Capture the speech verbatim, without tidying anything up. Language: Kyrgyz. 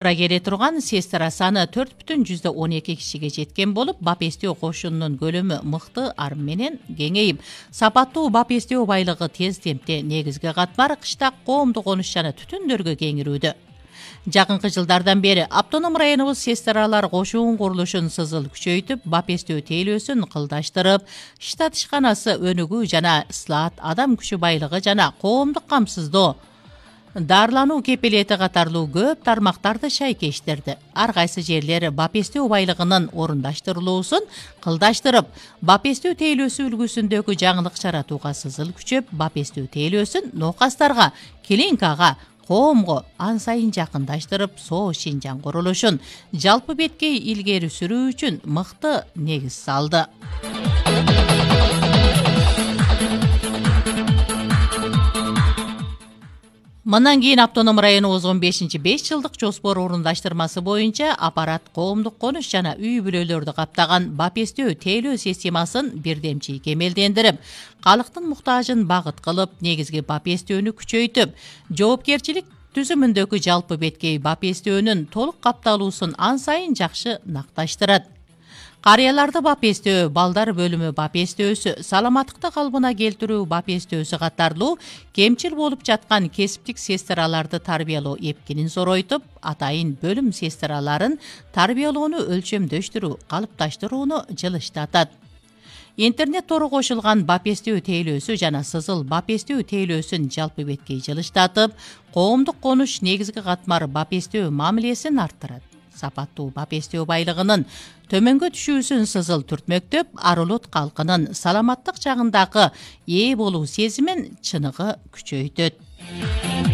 келе турган сестра саны төрт бүтүн жүздө он эки кишиге жеткен болуп, бап эстөө кошунунун көлөмү мыкты ар менен кеңейип, сапаттуу бап эстөө байлыгы тез темпте негизги катмар кышта коомдук конуш жана түтүндөргө кеңирүүдө. Жакынкы жылдардан бери автоном районубуз сестралар кошуун курулушун сызыл күчөйтүп, бап эстөө тейлөөсүн кылдаштырып, штат ишканасы өнүгүү жана ислаат, адам күчү байлыгы жана коомдук камсыздоо, дарылануу кепилети катарлуу көп тармактарды шайкештирди. Ар кайсы жерлери бап эстөө байлыгынын орундаштырылуусун кылдаштырып, бап эстөө тейлөөсү үлгүсүндөгү жаңылык жаратууга сызыл күчөп, бап эстөө тейлөөсүн ноокастарга, клиникага, коомго ан сайын жакындаштырып, соо Шинжаң курулушун жалпы беткей илгери сүрүү үчүн мыкты негиз салды. Мындан кийин автоном районубуз он бешинчи беш жылдык жоспор орундаштырмасы боюнча аппарат коомдук конуш жана үй бүлөлөрдү каптаган бап эстөө тейлөө системасын бирдемчи кемелдендирип, калктын муктажын багыт кылып, негизги бап эстөөнү күчөйтүп, жоопкерчилик түзүмүндөгү жалпы беткей бап эстөөнүн толук капталуусун ан сайын жакшы накташтырат. Карыяларды бап эстөө, балдар бөлүмү бап эстөөсү, саламаттыкты калыбына келтирүү бап эстөөсү катарлуу кемчил болуп жаткан кесиптик сестраларды тарбиялоо эпкинин зоройтуп, атайын бөлүм сестраларын тарбиялоону өлчөмдөштүрүү, калыпташтырууну жылыштатат. Интернет тору кошулган бап эстөө тейлөөсү жана сызыл бап эстөө тейлөөсүн жалпы беткей жылыштатып, коомдук конуш негизги катмар бап эстөө мамилесин арттырат. Сапаттуу бап эстөө байлыгынын төмөнгө түшүүсүн сызыл түртмөктөп, ар улут калкынын саламаттык жагындагы ээ болуу сезимин чыныгы күчөйтөт.